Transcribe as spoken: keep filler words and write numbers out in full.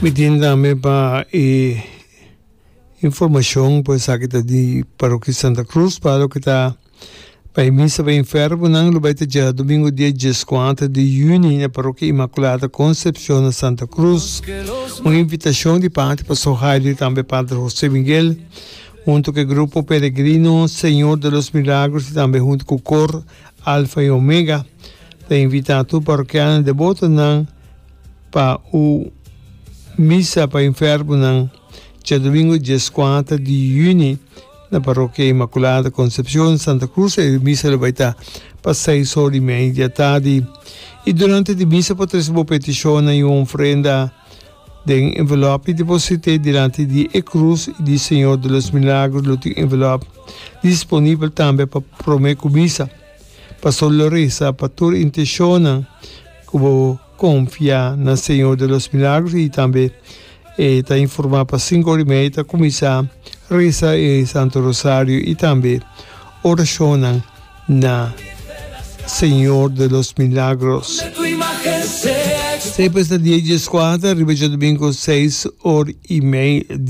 Mi tin tambe pa e informashon, pues aki ta di Parokia Santa Cruz, pa loke ta pa e misa pa enfermonan lo bai ta djadomingo dia dieskuater di yüni na Parokia Inmaculada Concepcion na Santa Cruz. Un invitashon di parti Pastor Jairo y tambe Padre Jose Miguel hunto ku e grupo Peregrino Señor de los Milagros y tambe hunto ku Kor Alfa y Omega ta invita tur parokiano debotonan pa un misa pa enfermonan djadomingo dieskuater di yüni na Parokia Inmaculada Concepcion, Santa Cruz. E misa lo bai ta pa seis or y mei di atardi. Y durante di misa por trece bo peticionnan y un ofrenda den envelop y deposite dilanti di e cruz y di Señor de los Milagros. Lo tin envelop disponibel tambe pa prome cu misa. Pastor lo reza pa tur intencionnan cu bo confia na Señor de los Milagros y tambe e ta informa pa cinco or y media ta cuminsa reza e Santo Rosario y tambe oracionnan na Señor de los Milagros. Esey pues ta dia dieskuater riba djadomingo seis or y mei di.